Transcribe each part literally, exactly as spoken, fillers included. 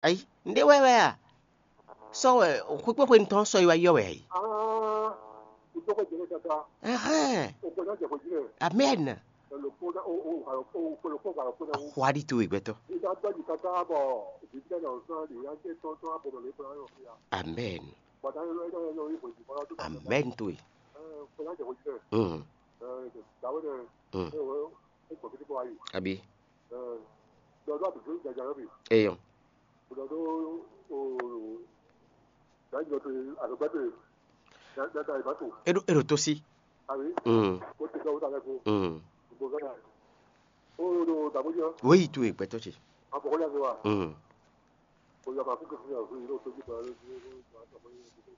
Ayi, nɖé wɛ wɛ a? Sɔ wɛ xwekpéxwe tɔn sɔ yi wá yɔ wɛ ayi. Ah, ìtọ́kọ̀ jẹ́rẹ́ kaka, Ɛhɛn. Òpè náà jẹ̀kọ̀ jí rẹ̀. Amen. Ẹlòpó náà, ó, ó, ó, ó, ó, ó, ó, ó, Xwadi to ìgbẹ́tɔ. Ìdá gbẹ́jì kaka bọ̀, ìdílé náà sọ, ìyá jẹ́ tọ́tọ́ àbọ̀dọ̀ lè fúnra yọ̀ fúya. Amen. Bọ̀dá yẹn lọ́yẹ́ náà yọ ìbò ìdìbò ọdún. Amen to ì. Ẹ, òpè náà jẹ̀kọ̀ jí rẹ̀. Mm. Ẹ, ìdáwó rẹ̀. Mm. Ẹ, wọ́n, ẹ, kọ̀kí tó wáyé. Àbí. Ẹ, lọ́dún àbùkù ìjàjà rẹ̀ bì. Eyọ. Lọ́dún, o, Gǎnjɔ to àgbẹ̀gbẹ́ to dada ìbá to. Eɖo eɖo tó sí. Àbí? Mm. Ó ti dɔwọ́ ta lẹ́kọ̀ọ́. Mm. Gbogbo gánà. Ó ɖo dàbójú ọ́. Wéyí tó ìgbẹ́tọ́ ce. Àbọ̀kọ́ yà sọ wa. Mm. Ó yà máa kú kẹsí yà fún yìí lóòótọ́ jù pẹ̀lú lójú.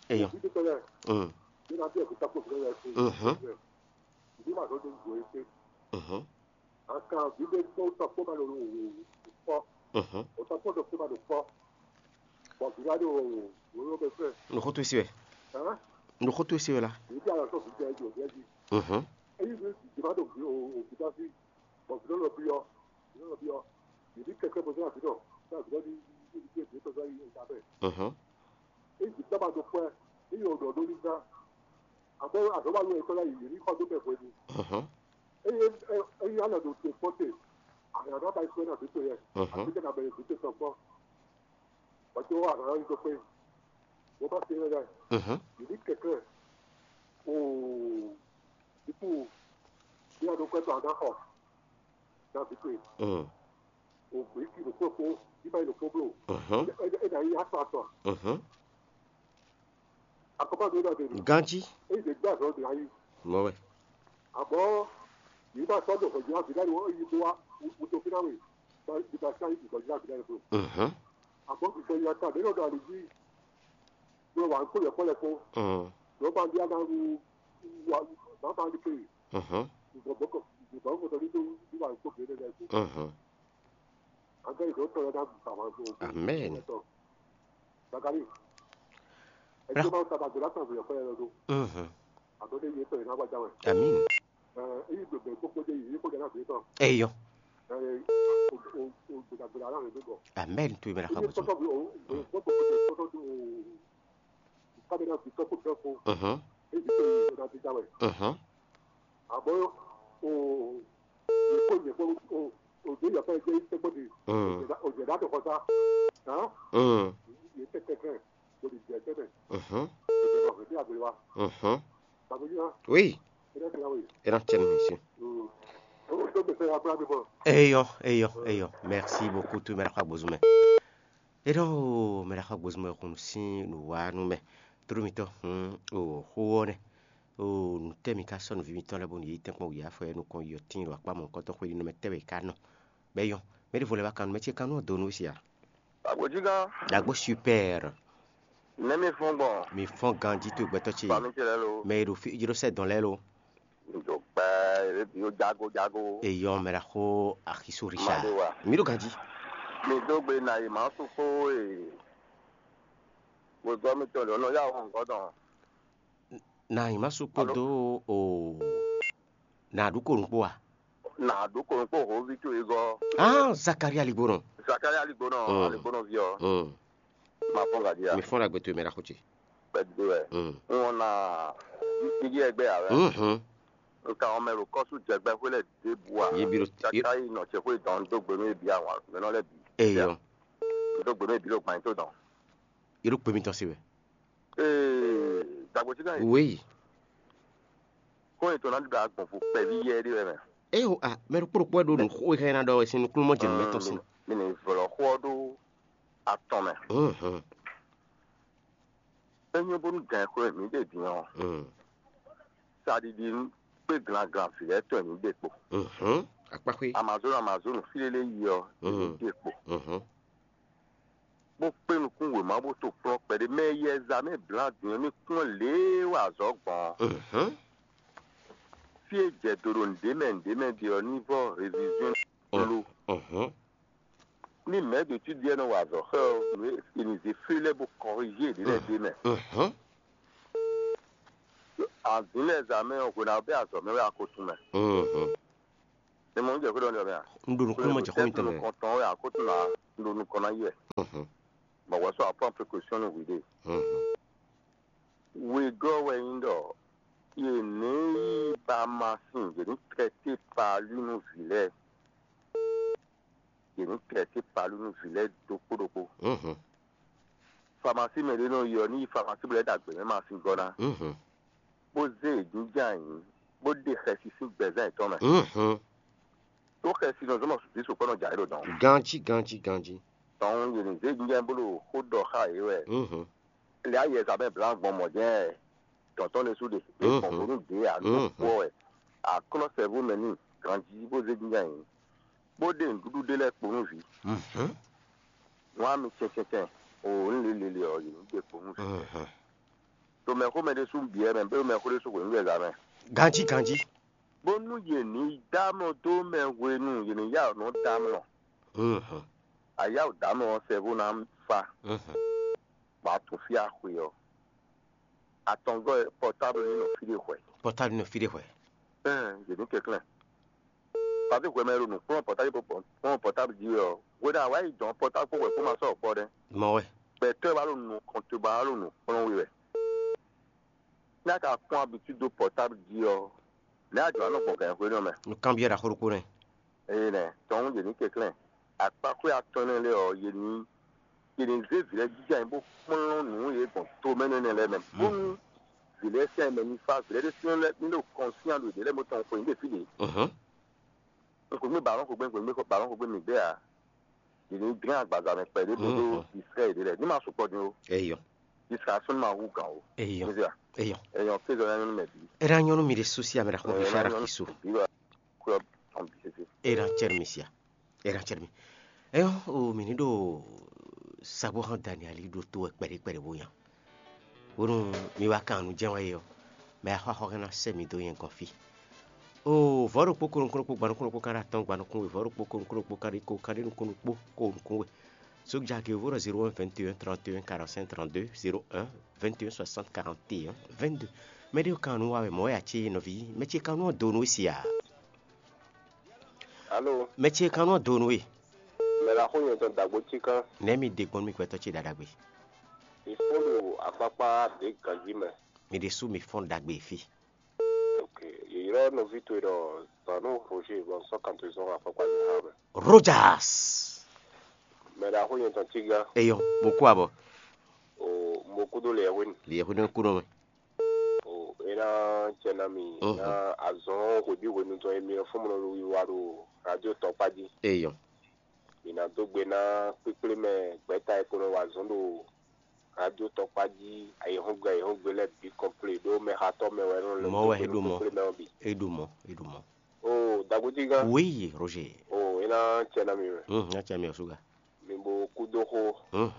Eyọ. Bí tó tẹ́lẹ̀. Mm. Bí náà bí ẹ̀kú tákò fún ẹ̀ fún. Mhm. Ìdí màá tó dé ìgò ẹ̀ pé. Mhm. Aka vǐɖé kpó tɔkpó ma ɖo wǔwú kpɔ́. Mhm. O tɔkpó ɖokpó ma ɖo kpɔ́. Bɔ vǐ wá ɖo wǔwú bɛ fɛ. Nǔxótó sí wɛ. Hã? Nǔxótó sí wɛ la. Vǐ bí alɔ sɔ vǐ jɛ jɔ vǐ jí. Mhm. Eyi vǐ vǐ ma ɖo vǐ o o vǐ dá sí. Bɔ vǐ lɔ byɔ. Vǐ lɔ byɔ. Vǐ bí kɛkɛ bɔ sɔ́ vǐ dɔ. Sɔ́ vǐ dɔ ní ní ní ní tɔ́ sɔ́ yi ta bɛ. Mhm. Eyi vǐ tɔ́ ma ɖo kpɔ́. Eyi o ɖɔ ɖó ní gán. Àmọ́ àdó wà lóye tọ́lá yìí ní kọ́ tó bẹ̀ fún ẹni. Mhm. Eye eye alɔ ɖo te kpɔ́ te, àyànná ba sɔ́ ná vǐ towe yɛ, Mhm. Àti kɛ na bɛ vǐ towe tɔn kpɔ́. Bɔtí wọ́n àná yí tó pé, wọ́n bá se lɛ, Mhm. Yìí ní kẹ̀kẹ́, oo, ikú, bí a ɖo kpɛtɔ àná xɔ, ná vǐ towe, Mm. O gbě kí ɖo kpó kpó, bí bá yi ɖo kpó bló, Mhm. Ɛ ɛ ɛ ná yí atɔ atɔ. Mhm. Akɔba do na de. Ganji. Eyi de gba zɔ de ayi. Mɔ wɛ. Abɔ yi ba sɔ do kɔjɔ abi na wo yi bo wa wuto fi na we. Ba yi ba sa yi kɔjɔ abi na le blo. Mhm. Abɔ kɔjɔ ya ta de no do ali ji. Bro wa ko yɛ kɔlɛ ko. Mhm. Do ba bi ana wu wa ba ba ni ke. Mhm. Bɔ bɔ ko bɔ ko to ni do ni wa ko be de le ko. Mhm. Amen. Mhm. Amen. Eyɔ. Amen. Tu imela kwa bozo. Mhm. Mhm. Mhm. Àmọ́ o yě kpó yě kpó o o dě yɔ̌fɛ́ jẹ́ tɛ́gbɔ́n di Mm. Òjò dá tó kɔsá hàn Mm. Yě tɛ́tɛ́ kɛ bó di jɛ tɛ́mɛ Mhm. Òjò dá fẹ́ dé àgbélé wa Mhm. Bàbá yìí hàn Oui. Ẹ dá tẹ̀lé wòye Ena tiɛni mi si. O tó gbèsè ya bla mi bọ̀ Eyɔ, eyɔ, eyɔ. Merci beaucoup, tu mɛ ɖe xɔ agbozu mɛ. Eɖɔ mɛ ɖe xɔ agbozu mɛ xunu sín nǔwánú mɛ. Tló mitɔn hun o xó ɔ́ nɛ. O nǔtɛ́ mi ka sɔ́ nǔví mitɔn lɛ́ɛ bónú yě yi tɛ́nkpɔ́n wǔyá fɔ yɛ nukɔn yi ɔ́ tíin ɖo akpá mɔ̌hunkɔtɔn xwé ɖi nɛmɛ tɛ́ wɛ è ka nɔ? Bɔ é nyɔ́. Mɛ ɖěvo lɛ́ɛ wá kan nú mɛ ce kan nú ɔ́ dó nú we sia? Agbǒjigán, Ɖagbo super. Nɛ̌ mi fɔ́n gbɔn? Mi fɔ́n ganjí towe gbɛtɔ́ ce. Fami ce lɛ́ɛ lo. Mɛ e ɖo fí jí ɖó sɛ́ dɔn lɛ́ɛ lo. Mi ɖo gbɛ, ebe bi ó jago jago. Eyɔ mɛ ɖaxó Axiso Richard. Maɖe wa. Mi ɖo ganjí. Mi dó gbe na yi mǎ sukpó e. Wegɔ́ mitɔn ɖě nɔ yá wɔn gɔ́ dɔn. Na nyǐmásu kpódó o nǎɖúkonu kpó a? Nǎɖúkonu kpó hǒví towe gɔ́. Ah, Zakaria Ligbonɔ. Zakaria Ligbonɔ, Mm. Ligbonɔ ví ɔ́. Mm. Ma fɔ́n gadia. Mi fɔ́n ɖagbe towe mɛ ɖaxó ce. Kpɛdó wɛ. Mm. N wɔn na dídí ɛgbẹ́ yà wɛ. Mhm. N ka wɔn mɛ ɖo kɔ́sú jɛgbɛ xwé lɛ ɖěbǔ a? Yé bi ɖo- Kaka yi nɔ ce xwé dɔn dó gbe nú yé bǐ awǎn mɛ nɔ lɛ bǐ. Eyɔ. Dó gbe nú yé bǐ ɖo gbanyito dɔn. Yé ɖo kpe mitɔn se wɛ. Ee, dagbo ti kan yi. Oui. Kó yìí tó ná dúdú agbɔ̀nfo kpɛví yɛ ɖé wɛ mɛ. Eyo a mɛ ɖokpó ɖokpó wɛ ɖo nǔ xó e xɛ ná ɖɔ wɛ sín nukúnnú mɔ jɛ nǔ mɛ tɔn sín. Mi ní vlɔ xó ɔ́ ɖó atɔn mɛ. Mhm. É nyɔ́ bónú gǎn xwé mǐ ɖe din ɔ́, Mm. Saɖiɖi kpé glanglan vǐ lɛ́ɛ tɔn mǐ ɖe kpo. Mhm. Akpáxwé. Amazonu Amazonu fí lélé yi ɔ́, Mm. mǐ ɖe kpo. Mhm. Bó kpé nukún wěma bó to kplɔ́n kpɛɖé mɛ e yɛ zǎ mɛ blǎ din ɔ́ ní kplɔ́n lě e wa azɔ̌ gbɔn ɔ́. Mhm. Fí e jɛ do ɖo nǔɖé mɛ nǔɖé mɛ ɖe ɔ́ ní vɔ réviziɔn lo. Mhm. Ní mɛ̌ ɖo cí ɖiɛ nɔ wa azɔ̌ xɛ ɔ́, nǔ e è nǐ zé fí lɛ́ɛ bó kɔrigé yě ɖě lɛ́ɛ ɖ'é mɛ. Mhm. Azǐn lɛ́ɛ zǎ mɛ ɔ́, hwe ná bɛ́ azɔ̌ mɛ wɛ a ko tunwun mɛ. Mhm. È mɔ nǔ jɛ xwé ɖɔ nú mɛ a? Un ɖo nǔkúnnú mɔ jɛ xó mitɔn mɛ. Nukɔntɔn wɛ a ko tunwun a? Un ɖo nukɔn ná yi wɛ. Bɔ wɛ sɔ apɔ́n précaution nú hwi ɖe. Wegɔ́ wɛ nyí ɖɔ yě ní yi ba masin, yě ní traité palu nú vǐ lɛ́ɛ. Yě ní traité palu nú vǐ lɛ́ɛ ɖokpó ɖokpó. Famasi mɛ ɖé nɔ yi ɔ́, ní yi famasi bɔ é ɖo agběmɛ masin gɔ́ ná, bó zé yě jínjɔ́n ayǐ, bó ɖe xɛsi sín gbɛzán yětɔn mɛ. Tó xɛsi nɔ zɔ́n bɔ zǐn sukpɔ́ nɔ jɛ ayǐ ɖo dɔn. Ganjí, ganjí, ganjí. Tɔn yě ní zé jínjɔ́n bó ɖo xó ɖɔ xá yě wɛ. Lě ayɛ zǎ mɛ blǎ gbɔn mɔ̌ jɛ́n dɔ̌n tɔn lɛ́ɛ sú ɖe, é gbɔn bónú ɖě ǎ nú kpɔ́ wɛ. Aklɔ́ sɛ́vú mɛ n'i ganjí bó zé jínjɔ́n ayǐ, bó ɖe nǔɖuɖu ɖé lɛ́ɛ kpo nú vǐ. Nú ami cɛncɛncɛn o, nú lělélé ɔ́, yě ní ɖe kpo nú vǐ. Ɖo mɛxó mɛ ɖésú byɔ́ mɛ, bó ɖo mɛxó ɖésú hwenu ɖo zǎ mɛ. Ganjí, ganjí. Bónú yě ní dá amlɔ dó mɛ hwenu yě ní yá nǔ dá amlɔ. Ayá ò dá amlɔ ɔ́, sɛ́vú ná fa. Bɔ a tunwun fí a xwe ɔ́, atɔngɔ́ pɔtáblu ní nɔ fí ɖé hwɛ. Pɔtáblu ní nɔ fí ɖé hwɛ. Ɛn, yě ní kɛnklɛ́n. Pàtí hwɛ mɛ e ɖo nǔ kplɔ́n pɔtáblu kplɔ́n pɔtáblu jí wɛ ɔ́, hwenu e a wǎ yi dɔn pɔtáblu kpó hwɛ kpó ma sɔ́ kpɔ́ ɖɛ́. Mɔ wɛ. Gbɛtɔ́ e wá ɖo nǔ kɔn te ba wá ɖo nǔ kplɔ́n we wɛ. Ní a ka kpɔ́n abitúdi dó pɔtáblu jí ɔ́, nɛ̌ a jlǒ ná nɔ gbɔn gǎn xwé nɔ mɛ? Nǔkanbyɔ́ ɖaxó ɖokpó nɛ́. Eye nɛ, tɔn yě ní kɛnklɛ́n. Akpaxwé atɔn énɛ́ lɛ́ɛ ɔ́, yě ní yě ní zé vǐ lɛ́ɛ jínjɔ́n ayǐ bó kplɔ́n nǔ e gbɔn tomɛ nɛnɛ lɛ́ɛ mɛ, bónú vǐ lɛ́ɛ sín ayǐ mɛ ní fá, vǐ lɛ́ɛ ɖésú lɛ́ɛ ní ɖo kɔn sín aɖǔ yě ɖe lɛ́ɛ bó tɔn xwe yě ɖe fí ɖě. Un xweyǐgbe balɔ́n xwegbe, un xweyǐgbe balɔ́n xwegbe mǐ gbé ǎ. Yě ní dlɛ́n agbaza mɛ kpɛɖé bó ɖó distrɛ́ yě ɖe lɛ́ɛ, ní ma sukpɔ́ dín ó. Eyɔ. Distraction ma hú gǎn ó. Eyɔ. Eyɔ. Eyɔ kézɔ nyá nyɔ́nú mɛ bǐ. É ná nyɔ́ nú mi ɖésú sí amɛ ɖaxó bǐ fí aɖaxí su. Bǐ wɛ kúyɔ tɔn bǐ sésé. É ná cɛ́ nú mi sia. É ná cɛ́ nú mi. Eyɔ, o mi ní ɖo sagbó hán Daniɛli ɖo tó wɛ kpɛɖé kpɛɖé bó nya. Bónú mi wá kan nǔ jɛ́n wɛ é ɔ́, mɛ e xɔ axɔ́ ná sɛ́ mi dó nyɛ gɔ́n fí. O vɔ̌ ɖokpó ko nukún ɖokpó gban nukún ɖokpó kan ɖo atɔ́ɔ́n gban nukún we, vɔ̌ ɖokpó ko nukún ɖokpó kan ɖo ko kan ɖo nukún ɖokpó ko nukún we. Sójà ke vó ɖɔ zéro un vingt et un trente et un quarante-cinq trente-deux, zéro un vingt et un soixante quarante et un vingt-deux. Mɛ ɖé kan nú wa wɛ mɔ̌ wɛ a cí nɔví, mɛ ce kan nú ɔ do nú we sia. Alo. Mɛ ce kan nú ɔ do nú we. Mɛ la xo nyɛ tɔn dagbo ci kan. Nɛ̌ mi ɖe gbɔn nú mi gbɛtɔ́ ce ɖaɖagbe? Mi fɔ́n ɖo akpákpá ɖě ganjí mɛ. Mi ɖésú mi fɔ́n ɖagbe fí. Ok, yě ylɔ́ nɔví towe ɖɔ Zanu Roger bɔ un sɔ́ kan towe zɔn akpákpá nyí há mɛ. Rojas. Mɛ ɖaxó nyɛ tɔn Tiga. Eyɔ, mo kú abɔ. O mo kúdó le hwenu. Le hwenu kú nɔ mɛ. O e ná cɛ ná mi ná azɔn hweɖí hwenu tɔn e mi fún mi nɔ wiwa ɖo radio tɔkpá jí. Eyɔ. Mi ná dó gbe ná kpékplé mɛ gbɛ̌ta e ko nɔ wa azɔn ɖo radio tɔkpá jí ayǐhɔ́ngbe ayǐhɔ́ngbe lɛ́ɛ bǐ kɔnplé ɖó mɛxatɔ́ mɛ wɛ nɔ lɛ́ Mɔ wɛ é ɖo mɔ. Kpékplé mɛ ɔ́ bǐ. É ɖo mɔ, é ɖo mɔ. O dagbojí gán. Oui, Roger. O e ná cɛ ná mi mɛ. Hum, ná cɛ mi ɔsúga. Mi bo kú dó xó. Hum.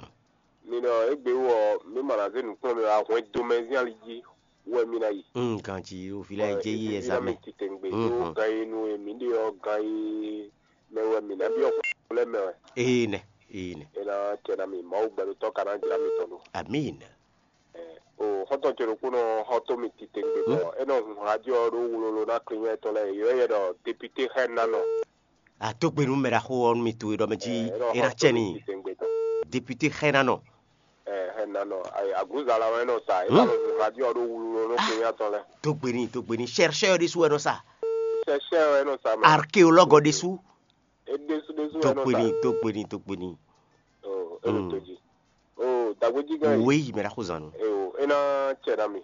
Mi nɔ égbé wú ɔ, mi ma ná zé nǔkplɔ́n mi wá hwɛn domɛzín ali jí wɛ mi ná yi. Hum, ganji o fi la yi jɛ yi Evi ná mi ɛzamɛ. Titengbe ɖó gan yi nu e mi ɖe ɔ gan yi mɛ wɛ mi ná byɔ́ xó lɛ́ mɛ wɛ. Ee nɛ, ee nɛ. E ná cɛ ná mi Mawu gbɛɖotɔ́ ka ná jlá mi tɔn ɖo. Amin. O xɔ́ntɔn ce ɖokpónɔ xɔ tó mi titengbe bɔ é nɔ hun hajɔ ɖó wlolo ná klinyɛ tɔn lɛ́ɛ yɔ yɛ ɖɔ député xɛ nanɔ. A dó gbe nú mɛ ɖaxó ɔ́ nú mi towe ɖɔ mɛ jí é ná cɛ n'i. Député xɛ nanɔ. Xɛ nanɔ. Aglúza la wɛ nɔ sa é ná nɔ hun hajɔ ɖó wlolo nú klinyɛ tɔn lɛ́ɛ. Dó gbe n'i, dó gbe n'i, chercheur ɖésú wɛ nɔ sa. Chercheur wɛ nɔ sa mɛ. Archéologue ɖésú. É ɖésú ɖésú wɛ nɔ sa. Dó gbe n'i, dó gbe n'i, dó gbe n'i. Oh, é ɖo tó jí. Oh, dagbejí gán yi. Oui, mɛ ɖaxó zan nɔ. Eh, oh, é ná cɛ ná mi.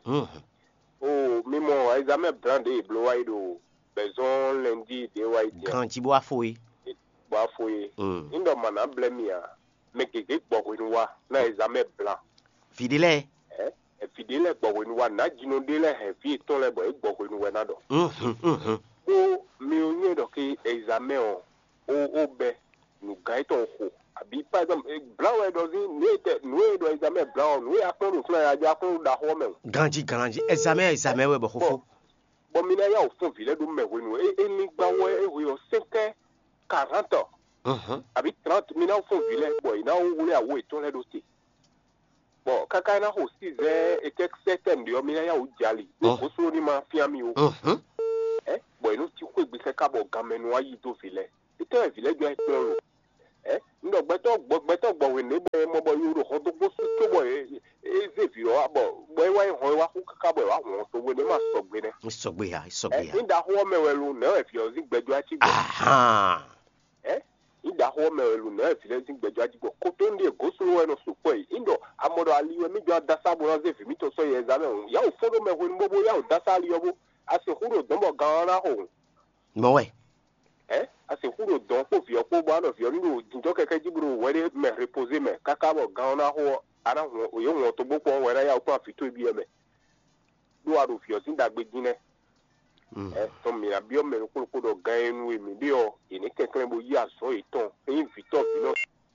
Oh, mi mɔ examen blanc ɖe bló wá yi ɖo bɛzɔn lundi ɖe wá yi dia. Ganji bó wá fo é. Bó wá fo é. Ní ɖɔ màná blɛ mi a, mɛ gěgé gbɔ hwenu wá ná examen blanc. Vǐ ɖé lɛ́ɛ. Ɛ evi ɖé lɛ́ɛ gbɔ hwenu wá nǎ jinɔ ɖé lɛ́ɛ hɛn vǐ yětɔn lɛ́ɛ bɔ é gbɔ hwenu wɛ ná ɖɔ. Ɖó mi ò nyɛ ɖɔ ké examen ɔ ó ó bɛ nǔgán yětɔn xo àbí par exemple blan wɛ ɖɔ zín nǔ e tɛ nǔ e ɖɔ examen blan ɔ nǔ e akpɔn ɖo flɛ ya jɔ akpɔn ɖo ɖaxɔ mɛ o. Ganji ganji, examen examen wɛ bɔ xóxó. Bɔ mi ná yá wò fún vǐ lɛ́ɛ ɖó mɛ hwenu e é ní gbá wɔ é hwe ɔ sɛnkɛ quarante àbí trente mi ná fún vǐ lɛ́ɛ bɔ è ná wlé awo yětɔn lɛ́ɛ ɖó te. Bɔ káká é ná xo six heures et quelques sept heures ɖe ɔ́, mi ná yá wǔ jɛ ali ɖó goslo ní ma fyán mi ó. Ɛ bɔ è nɔ cí xwé gbèsè ká bɔ ganmɛ nɔ wá yí dó vǐ lɛ́ɛ. Étɛ́ wɛ vǐ lɛ́ɛ jɔ ayǐ kplɔ́n lo? Ɛ, un ɖɔ gbɛtɔ́ gbɔ gbɛtɔ́ gbɔ hwenu bɔ e mɔ bɔ yo ɖo hɔn dó gbó sú cóbɔ é zé vǐ ɔ́ wá bɔ bɔ é wá nyí hɔn e wá xú káká bɔ è wá hɔn hɔn towe nɛ́ ma sɔgbe nɛ́. Sɔgbe ya, sɔgbe ya. Ní ɖaxó ɔ́ mɛ wɛ lo nɛ̌ wɛ vǐ ɔ́ zín gbɛjɔ́ cí gbɔ? Ahan. Ɛ, ní ɖaxó ɔ́ mɛ wɛ lo nɛ̌ wɛ vǐ lɛ́ɛ zín gbɛjɔ́ cí gbɔ? Kótó ní ɖie gǒ sló wɛ nɔ sukpɔ́ yi. Ní ɖɔ a mɔ ɖɔ ali wɛ mí jɔ adasá bó ná zé vǐ mítɔn sɔ́ yi ɛzamɛ hǔn, yǎ wǔ fó ɖó mɛ hwenu bó bó yá wǔ dó asá ali ɔ́ bó. A sixú ɖo dɔ̌n bɔ gan ɔ́ ná xo hǔn. Mɔ̌ wɛ. Ɛ, a sixú ɖo dɔ̌n kpó vǐ ɔ́ kpó bó wá nɔ vǐ ɔ́ ní ɖo jǐnjɔ́n kɛkɛ́ jí bó ɖo wɛ ɖé mɛ repoze mɛ káká bɔ gan ɔ́ ná xo ɔ́, a ná hun yě hun ɔ́ togbó kpɔ́n wɛ ná yá wǔ kplɔ́n vǐ towe byɔ́ mɛ. Ɖó a ɖo vǐ ɔ́ sín ɖagbe jí nɛ́. Ɛ, tɔn mǐ ná byɔ́ mɛ ɖokpó ɖokpó ɖɔ gan e nu e mǐ ɖe ɔ́, è nǐ kɛnklɛ́n bó yí azɔ̌ yětɔn é nyí vǐtɔ́ vǐ nɔ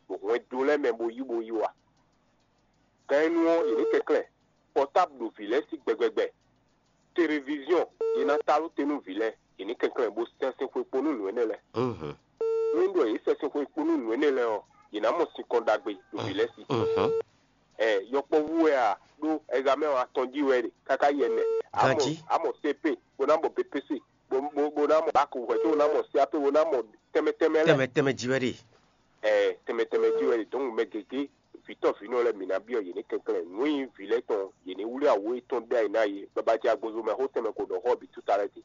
ɖo hwɛndo lɛ́ɛ mɛ bó yí bó yí wa. Gan e nu ɔ́, è nǐ kɛnklɛ́n pɔtáb ɖo vǐ lɛ́ɛ sí gbɛgbɛgbɛ. Televiziɔn, yě ná ta ɖó te nú vǐ lɛ́ɛ, yě ní kɛnklɛ́n bó sɛn sín xwe kpó nú nǔ énɛ́ lɛ́ɛ. Nú ɖɔ yě sɛn sín xwe kpó nú nǔ énɛ́ lɛ́ɛ ɔ́, yě ná mɔ sinkɔn ɖagbe ɖo vǐ lɛ́ɛ sí. Ɛ, yɔkpɔ́vú wɛ a ɖó ɛzamɛ ɔ́ atɔn jí wɛ ɖe káká yi ɛnɛ. Amɔ Ganjí. Amɔ C P, bó ná mɔ B P C, bó bó bó ná mɔ bak hwɛ̌ tó bó ná mɔ C A P, bó ná mɔ tɛnmɛ tɛnmɛ lɛ́ɛ. Tɛnmɛ tɛnmɛ jí wɛ ɖe. Ɛ, tɛnmɛ tɛnmɛ jí wɛ ɖe. Donc mɛ gěgé vǐtɔ́ vǐnɔ lɛ́ɛ mǐ ná byɔ́ yě ní kɛnklɛ́n. Nǔ e nyí vǐ lɛ́ɛ tɔn, yě ní wlí awo yětɔn ɖó ayǐ ná yě. Babajɛ agbozomɛ xó tɛnmɛ ko ɖɔ xɔ bǐ túta lɛ́ɛ din.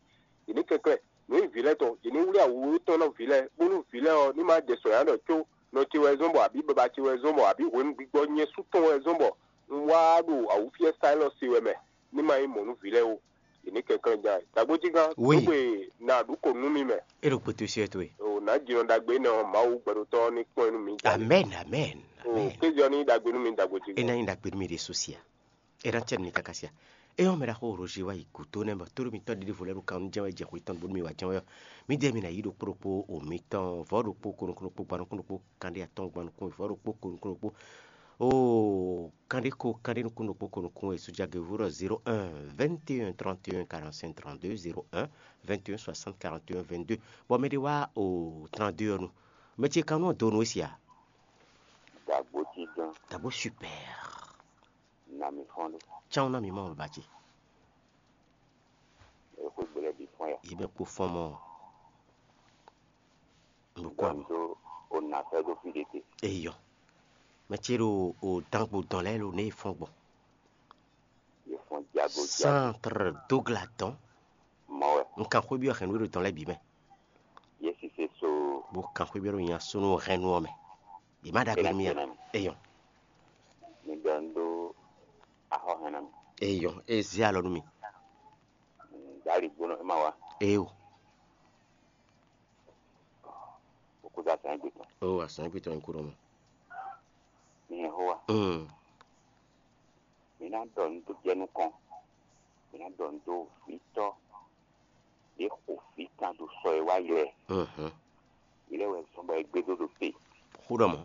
Yě ní kɛnklɛ́n. Nǔ e nyí vǐ lɛ́ɛ tɔn, yě ní wlí awu yětɔn ná vǐ lɛ́ɛ, bónú vǐ lɛ́ɛ ɔ́ ní má jɛ sɔ̌ nya ɖɔ có nɔ ce wɛ zɔ́n bɔ abǐ baba ce wɛ zɔ́n bɔ abǐ hwenu gbigbɔ nyɛ sú tɔn wɛ zɔ́n bɔ un wá ɖo awǔfíɛ́ Saylɔ́si wɛ mɛ, ní ma nyí mɔ̌ nú vǐ lɛ́ɛ ó. Yě ní kɛnklɛ́n ján wɛ. Dǎgbójígán, Wi. Dǒgbe na ɖu kǒ nú mi mɛ. É ɖo kpétú syɛ́ towe. O nǎ jinɔ ɖagbe énɛ́ ɔ́, Mawu gbɛɖotɔ́ ɔ́ ní kpɔ́n ɛ nú mi. Amɛ́n, amɛ́n, O amɛ́n. Kéze ɔ́ ní nyí ɖagbe nú mi, Dǎgbójígán. É ná nyí ɖagbe nú mi ɖe sosia. É ná cɛ nú mi káká sia. É ɔ́, mɛ ɖaxó Roger wá yi gǔdo nɛ́ bɔ tóɖó mitɔn ɖěɖěvo lɛ́ɛ ɖo kan nú jɛ́n wɛ jɛ xwe tɔn bó nú mi wá jɛ́n wɛ ɔ́, mǐdɛɛ mi ná yí ɖokpó ɖokpó o mitɔn vɔ̌ ɖokpó ko nukún ɖokpó gban nukún ɖokpó kanɖé atɔ́ɔ́n gban nukún vɔ̌ ɖokpó ko nukún ɖokpó o kanɖé ko kanɖé nukún ɖokpó ko nukún e sójagěvú ɖɔ zéro un vingt et un trente et un quarante-cinq trente-deux, zéro un vingt et un soixante quarante et un vingt-deux. Bɔ mɛ ɖé wá o trente-deux ɔ́ nu. Mɛ ce kan nú ɔ́ do nú é sia. Dǎgbójígán. Dǎgbó super. Nǎ mi fɔ́n ɖó. Cán ná mi mɔ baba ce. Ě xwé gbe lɛ́ɛ bǐ fɔ́n ya. Yě mɛ kpó fɔ́n mɔ. Nukún Dɔn abo. Do o nǎ fɛ́ dó fí ɖé te. Eyɔ. Mɛ ce ɖo o dangbo dɔn lɛ́ɛ ɖo nɛ e fɔ́n gbɔn. Yě fɔ́n jago jago. Centre Douglas dɔn. Mɔ wɛ. Un kan xwé byɔ́ hɛn nú ɖo dɔn lɛ́ɛ bǐ mɛ. Yě sise so. Bó kan xwé byɔ́ ɖo nya súnú hɛn nú ɔ́ mɛ. Yě má ɖagbe nú mì a? Eyɔ. Mi ɖɔ un ɖó axɔ hɛn ná mi. Eyɔ, é zé alɔ nú mi. Dali gbónɔ é ma wá. Eyo. Òkúta sàn gbé tán. O asàn gbé tán kúrò mɔ. Mi hɛn xó wa. Mm. Mi ná ɖɔ nǔ dó jɛ nukɔn. Mi ná ɖɔ nǔ dó vǐtɔ́. Ɖě xo vǐ kan ɖo sɔ e wá yi lɛ. Mhm. Yi lɛ wɛ zɔn bɔ è gbé dó ɖo te. Xó ɖɔ mɔ.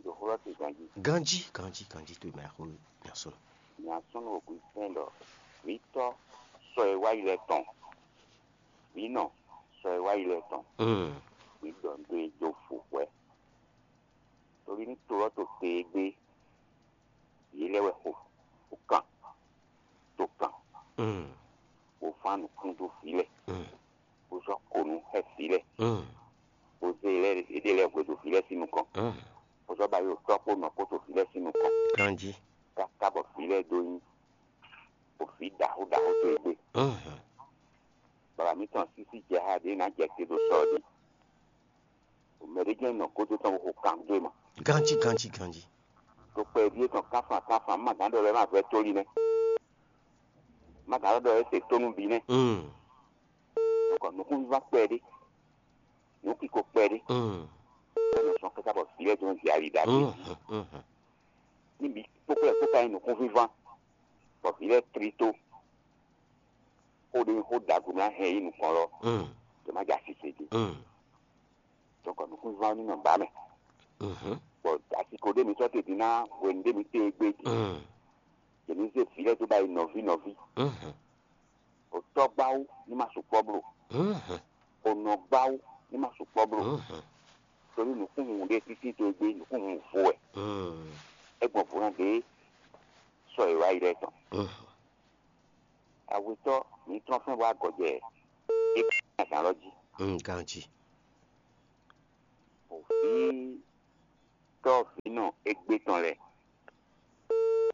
Ɖo xó ɖɔ te ganjí. Ganjí, ganjí, ganjí to mɛ xó nya sɔn. Nya sɔn ɖo gbí fɛn ɖɔ vǐtɔ́ sɔ e wá yi lɛ tɔn. Vǐ nɔ sɔ e wá yi lɛ tɔn. Mm. Vǐ ɖɔ nǔ dó e jó fo hwɛ. Torí ní to ɔ́ to te e gbé, yě lɛ́ wɛ xo, xo kan, to kan, Mm. bó fán nǔkún dó vǐ lɛ́ɛ, Mm. bó sɔ́ ko nú xɛ vǐ lɛ́ɛ, Mm. bó zé yě lɛ́ɛ yěɖée lɛ́ɛ hwedó vǐ lɛ́ɛ sín nukɔn, Mm. bó sɔ́ ba yi ɖo tɔ́ kpó nɔ kpó to vǐ lɛ́ɛ sín nukɔn, Ganjí. Káká bɔ vǐ lɛ́ɛ dó nyí, bɔ vǐ ɖaxó ɖaxó dó e gbé. Mhm. Baba mǐtɔn sísí jɛ xá ɖě ná jɛ te ɖo sɔ ɔ́ ɖi. Mɛ ɖé jɛ́n nɔ kódó tɔn xo kan dó e mɔ. Ganjí, ganjí, ganjí. To kpɛ ɖíe tɔn kánfan kánfan má gǎn ɖɔ lɛ́ɛ má vɛ́ tóli nɛ́. Má gǎn ɖɔ lɛ́ɛ se tónú bǐ nɛ́. Mm. Nukɔ nukúnvívá kpɛɖé. Nǔkiko kpɛɖé. Mm. Bɛ́ nɔ sɔn káká bɔ vǐ lɛ́ɛ dó nɔ jɛ ali ɖa bí. Mm, mm, mm. Ní bǐ kpókpó lɛ́ɛ kpó ka nyí nukúnvívá. Bɔ vǐ lɛ́ɛ tlí tó. Xó ɖé nyí xó ɖagbe mlá hɛn yí nukɔn lɔ. Mm. Tó má jɛ asise dó. Mm. Donc nukúnvívá ní nɔ ba mɛ. Mhm. Bɔ asiko ɖé mi sɔ́ te din ná hwenu ɖé mi te e gbé din. Mm. Yě ní zé vǐ lɛ́ɛ dó ba yi nɔví nɔví. Mhm. O tɔ́ gbáwú ní ma sukpɔ́ bló. Mhm. O nɔ gbáwú ní ma sukpɔ́ bló. Mhm. Torí nǔkúnhun ɖé títí to e gbé nǔkúnhun vo wɛ. Mm. É gbɔn vo ná ɖě sɔ è wá yi lɛ́ɛ tɔn. Mhm. Awetɔ́ mi trɔ́n fɛ́n bɔ agɔjɛ é azǎn lɔ jí. Mm, ganjí. vǐtɔ́vǐnɔ égbé tɔn lɛ́ɛ.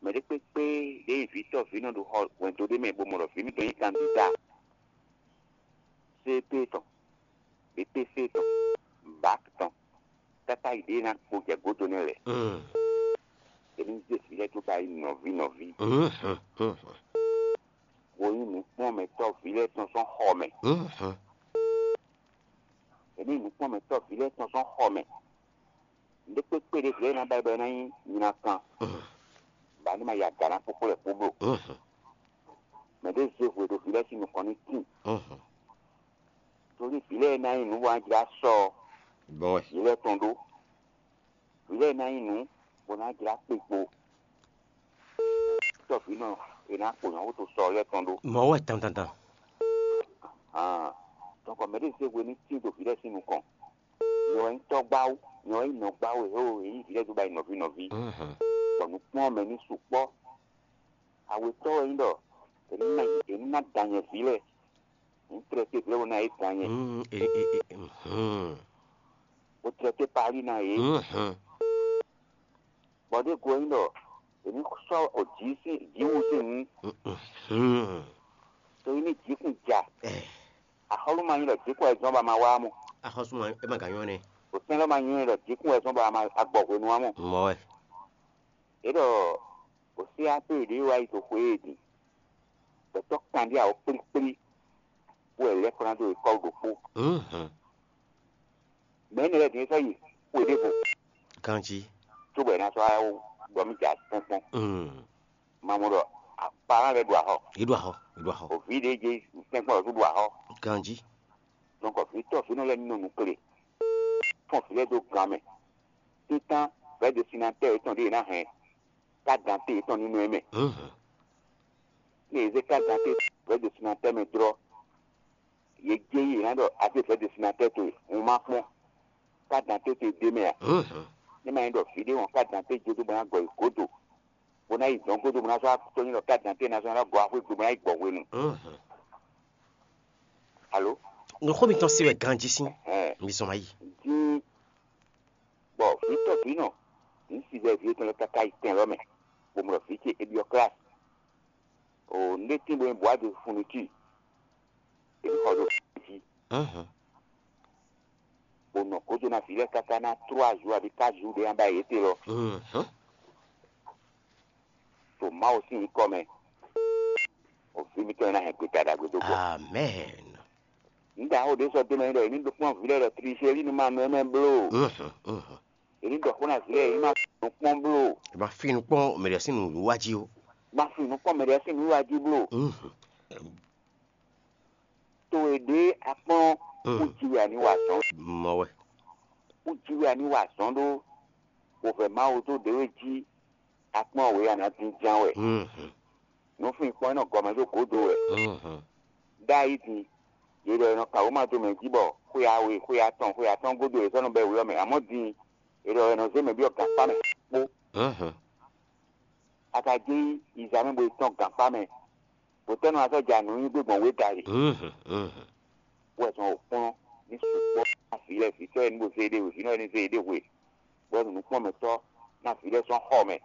Mɛ ɖé kpékpé ɖě nyí vǐtɔ́vǐnɔ ɖo xɔ hwɛndo ɖé mɛ bó mɔ ɖɔ vǐ mitɔn nyí kandída C P tɔn, B P C tɔn, bak tɔn, káká yi ɖě ná kpo jɛ gǒdo nɛ́ lɛ́ɛ. Mm. È ní zé vǐ lɛ́ɛ dó ba yi nɔví nɔví, Mm. Mm. bó nyí nǔkplɔ́nmɛtɔ́ vǐ lɛ́ɛ tɔn sɔ́ xɔ mɛ. Mm. È ní nyí nǔkplɔ́nmɛtɔ́ vǐ lɛ́ɛ tɔn sɔ́ xɔ mɛ. Nǔɖé kpékpé ɖě vǐ lɛ́ɛ ná ba yi bɔ é ná nyí nyinakan, Mm. bɔ a ní ma ya gǎ ná kpókpó lɛ́ kpó bló. Mm. Mɛ ɖé zé hwe ɖo vǐ lɛ́ɛ sín nukɔn ní tíin. Mm. Tóli vǐ lɛ́ɛ ná nyí nǔ bó ná jlá sɔ́ Bɔn wɛ. vǐ lɛ́ɛ tɔn ɖó. Vǐ lɛ́ɛ ná nyí nǔ bó ná jlá kpikpo. Tɔ́vǐnɔ è nǎ kpo nyɔ̌ xóto sɔ lɛ́ɛ tɔn ɖó. Mɔ̌ wɛ tantantan. Hǎn, tɔnkɔ mɛ ɖé zé hwe ní tín dó vǐ lɛ́ɛ sín nukɔn. Nyɛ wɛ nyí tɔ́gbáwú, nyɛ wɛ nyí nɔgbáwú e hé e nyí vǐ lɛ́ɛ dó ba yi nɔví nɔví. Mhm. Bɔ nǔkplɔ́nmɛ ní sukpɔ́. Awetɔ́ wɛ nyí ɖɔ è ní ná è ní ná da nyɛ vǐ lɛ́ɛ. Ní tlɛ té vǐ lɛ́ɛ bó ná yě da nyɛ. Mm, e, e, e, mhm. Bó tlɛ té Pali ná yě. Mhm. Bɔ ɖěgo ɔ́ nyí ɖɔ è ní sɔ́ jǐ sín jǐwu sín nu, Mhm. to yi ní jǐkún ja. Ɛ, Axɔ́lú ma nyí ɖɔ jǐkún wɛ zɔ́n bɔ a ma wá mɔ. Axɔ́sú ma é ma gǎn nyɔ́ nɛ́. Òsɛn lɔ ma nyí ɖɔ jǐkún wɛ zɔ́n bɔ a ma agbɔ hwenu wá mɔ. Mɔ̌ wɛ. É ɖɔ òsín á pé ɖě wá yi to xwé e din. Gbɛtɔ́ kanɖíá wǒ kplíkplí, bó wɛ lɛ́ kplán dó e kɔ́ ɖokpó. Mhm. Mɛ énɛ́ lɛ́ɛ din é sɔ́ yi xwe ɖěvo Ganjí. cóbɔ è nǎ sɔ́ wá ɖɔ mì jɛ atɔ́nkpɔ́n. Mm. Ma mɔ ɖɔ apalán lɛ́ɛ ɖo axɔ. Yě ɖo axɔ. Yě ɖo axɔ. Òví ɖě jɛ tɛ́nkpɔ́n lɔ̌ ɖo axɔ. Ganjí. Donc vǐtɔ́ vǐnɔ lɛ́ɛ nɔ nukle. Fɔ́n vǐ lɛ́ɛ dó gan mɛ. Títán vɛ̌ destinatɛ́ yětɔn ɖě è nǎ hɛn. Ká dantée yětɔn ní nɔ ɛ mɛ. Mhm. Ní è zé ká dantée vɛ̌ destinatɛ́ mɛ jlɔ́, yě jɛ yí yě ná ɖɔ a zé vɛ̌ destinatɛ́ towe, un ma kpɔ́n. Ká dantée towe ɖ'é mɛ ǎ. Mhm. Ní ma nyí ɖɔ vǐ ɖé wɔn ká dantée jó dó bɔ ná gɔ yi gǒdo, bó ná yi dɔ̌n gúdo bó ná sɔ́ tɔ́ nyí ɖɔ ká dantée ná sɔ́ ná gɔ axwé gbe bó ná yi gbɔ hwenu. Mhm. Alo? Nǔxó mitɔn se wɛ ganjí sín. Ɛhɛn. Mi zɔn wá yi. Dín bɔ vǐ tɔ́ vǐ nɔ, vǐ si vɛ vǐ etɔn lɛ́ɛ káká yi tɛn lɔ́ mɛ, bó mlɔ vǐ ce é byɔ́ klasi. O nɖé tín bó nyí bwǎ de funu cí, é xɔ ɖo jí, Mhm. bó nɔ gǒdo ná vǐ lɛ́ɛ káká ná tró azǔ abǐ ká azǔ ɖé ná ba yě te lɔ. Mhm. To Mawu sín nyǐkɔ mɛ, o vǐ mitɔn e ná hɛn gbeta ɖagbe dó gbɔ. Amɛn. Nǔɖaxó ɖé sɔ́ dó mɛ ɖɔ è ní ɖo kpɔ́n vǐ lɛ́ɛ ɖɔ Triseli nu ma nɔ ɛ mɛ bló. Mhm, mhm. È ní ɖɔ xó ná vǐ lɛ́ɛ è ní ma nɔ kpɔ́n bló. È ma fi nukpɔ́n mɛ ɖě sín nǔwiwa jí ó. Ma fi nukpɔ́n mɛ ɖě sín nǔwiwa jí bló. Mhm. To e ɖě a kpɔ́n Mm. kú jí wɛ a ní wa azɔn. Mɔ wɛ. Kú jí wɛ a ní wa azɔn ɖó. Wovɛ Mawu dó ɖě we jí a kpɔ́n wě a nǎ dín ján wɛ. Mhm. Nǔfinfɔ́n e nɔ gɔmɛ dó gǒdo wɛ. Mhm. Ɖ'ayǐ din, yě ɖɔ è nɔ kan wěma dó mɛ jí bɔ xwe awe, xwe atɔn, xwe atɔ́ɔ́n gúdo è sɔ́ nɔ bɛ́ wě ɔ́ mɛ. Amɔ̌ din, è ɖɔ è nɔ zé mɛ byɔ́ gankpá mɛ kpó. Mhm. A ka jɛ yi yiza mɛ bo yi tɔ́n gankpá mɛ, bó tɛ́ nɔ wá sɔ́ ja nǔ nyi gbé gbɔn wě dali. Mhm, mhm. Wɛ zɔn wǒ kplɔ́n ní sukpɔ́ ná vǐ lɛ́ɛ vǐtɔ́ e ní bo zé ɖé hwe, vǐnɔ e ní zé ɖé hwe, bɔ nǔkpɔ́nmɛtɔ́ ná vǐ lɛ́ɛ sɔ́ xɔ mɛ.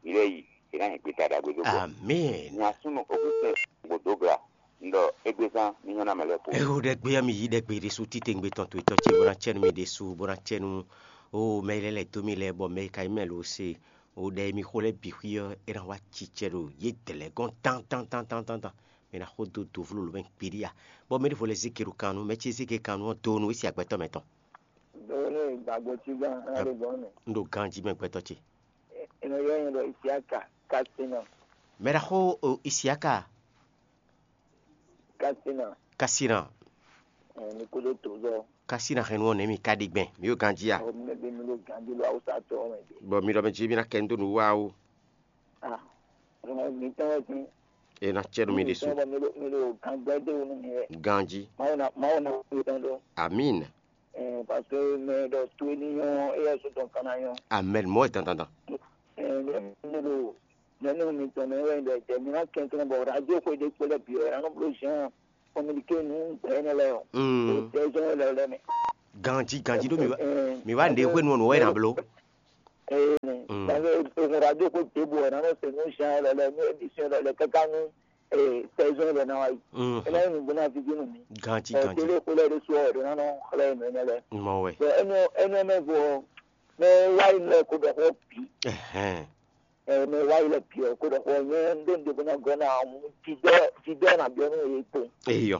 Vǐ lɛ́ɛ yi, è nǎ nyi gbeta ɖagbe dó gbɔ. Amɛn. Nya súnnu Augustin Gbodogla, un ɖɔ égbézán ní nyɔ́ ná mɛ lɛ́ɛ kpo. Eho ɖɛgbe ɔ́, mi yí ɖɛgbe ɖésú títewungbe tɔn towe tɔ́ ce bó ná cɛ́ nú mi ɖésú, bó ná cɛ́ nú ó mɛ e lɛ́ lɛ̌ dó mi lɛ́ɛ, bɔ mɛ e ka nyí mɛ lo se o ɖɛ e mi xo lɛ́ɛ bǐ xwí ɔ́, é ná wá cicɛ ɖo yě dɛ̌ lɛ́ɛ gɔ́n tán tán tán tán tán tán. Mi ná xo dó dovló lǒ mɛ kpiɖí a? Bɔ mɛ ɖěvo lɛ́ɛ zé ke ɖo kan nú, mɛ ce zé ke kan nú ɔ́, do nú é se agbɛtɔ́ mɛtɔn. Dɔwɛlɛ gbàgbọ́ tí gán á lè gbọ́n nù. Un ɖo ganjí mɛ gbɛtɔ́ ce. Ìnàyà yẹn lọ Isiaka Kasina. Mɛ ɖaxó o Isiaka Kasina. Kasina. Ẹ̀ ní kó ló tó zɔ. Kasina hɛn nú ɔ́ nɛ̌ mi ka ɖi gbɛn mi yóò ganjí a? Ọ̀ mi bí mi ló ganjí ló awúsá tó ọmọ ìdí. Bɔ mi ɖɔ mɛ jí mi ná kɛ ń dó nǔ wá o. Ah, ọmọ mi tán wọ́n ti. E ná cɛ nú mi ɖésú. Tán wọ́n mi ló mi ló gangbẹ́ dé wọnú mi rẹ̀. Ganjí. Máwo na máwo na wọ́n tán lọ. Amín. Ẹ̀ pàṣẹ mẹ lọ tó ní yán ẹ yẹ sọ tán kan náà yán. Amɛn. Mɔ ɛ dandandan. Ẹ̀ ní ẹ mi ló nínú mi tán mẹ wẹ́ ẹ̀ jẹ́ mi ná kẹ́ tán bọ̀ rájò kó dé kpẹ́lẹ́ bì ẹ̀ ránú bó zhán kọ́míníké nú gbẹ́ ẹ̀ lẹ́yọ̀. Mm. Ó tẹ́ zọ́n ẹ̀ lẹ́yọ̀ lẹ́mẹ̀. Ganji ganji ɖó mi wá, mi wá nɖe hwenu ɔ́ nǔ wɛ ná bló. Ee, Mm. Gbàgbé ohun radio kó débò ɔ̀nà náà sè nú zan lɔ lɛ nú émission lɔ lɛ káká nú saison lɛ náà wáyé. Mhm. Ena yi nùgbó náà fífi nù mí. Ganji ganji. Télé kó lɛ ɖé sú ɔ̀dọ̀ náà nɔ xlẹ́ nù ɛnɛ lɛ. Mɔ wɛ. Bɔn ɛnu ɛnu ɛmɛ vɔ mɛ wáyé lɛ kó bɛ xɔ bì. Ɛhɛn. Mɛ wáyé lɛ bì ɔ kó bɛ xɔ nyɛ ndé ndé bó ná gɔ́ náà hùn jidɛ jidɛ nà biɔ nú yé kpó. Eyɔ.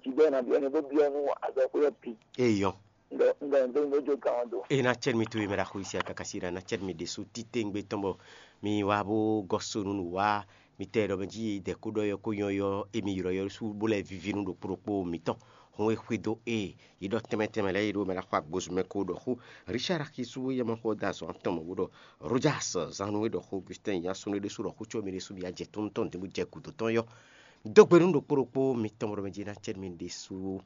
Jidɛ nà biɔ nú bó biɔ nú azɔ kó yɛ bì. Eyɔ. Ŋgɔ ŋgɔ ŋgɔ ŋgɔ jo gan do. E na cɛ mi to e mɛ ɖaxo isi akakasi ɖa na cɛ mi ɖe so tite ŋgbe tɔn bɔ mi wa bo gɔ so nu nu wa mi tɛ ɖɔ mɛ ji dɛ ko ɖɔ yɔ ko yɔ yɔ emi yrɔ yɔ su bo lɛ vivi nu ɖokpo ɖokpo mitɔn. Hun e xwe do e yi ɖɔ tɛmɛ tɛmɛ lɛ yi ɖo mɛ ɖaxo agbozu mɛ ko ɖɔ xo. Richard Akisu yɛ mɔ xɔ da zɔn tɔn mɔ bo ɖɔ Rojas zanu e ɖɔ xo Augustin ya sunu ɖe su ɖɔ xo tso mi ɖe su mi ya jɛ tɔn tɔn de bo jɛ gudo tɔn yɔ. Dó gbe nú ɖokpó ɖokpó mitɔn bɔ mɛ jí ná cɛ mi ɖésú.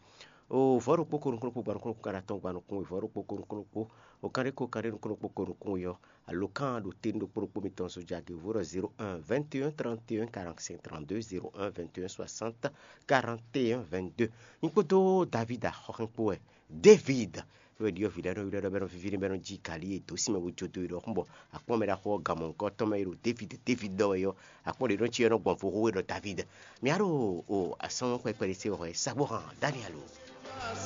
O vɔ̌ ɖokpó ko nukúnnú kpó gba nukúnnú kpó gba nukúnnú vɔ̌ ɖokpó ko nukúnnú kpó o kan ɖé ko kan ɖé nukúnnú kpó ko nukúnnú yɔ. Alo kan ɖo te nú ɖokpó ɖokpó mitɔn so jage vó ɖɔ zéro un vingt et un trente et un quarante-cinq trente-deux, zéro un vingt et un soixante quarante et un vingt-deux. Nyí kpódó David axɔxɛn kpó wɛ. David wɛ ɖiɔ vǐ lɛ́ɛ nɔ ylɔ́ ɖɔ bɔ é nɔ víví n'i bɔ é nɔ jí galí e dǒ sin mɛ bó jó dó yi ɖɔhun bɔ akpɔ́n mɛ ɖaxó ɔ́ gan mɔ̌hunkɔtɔn mɛ e ɖo David David ɖɔ wɛ ɔ́, akpɔ́n ɖě nɔ cí ɔ́ nɔ gbɔn vo xó e ɖɔ David. Mǐ á ɖo o asɔ́n kpɛkpɛ ɖé se wɛ hwɛ sa bó hán Daniel o.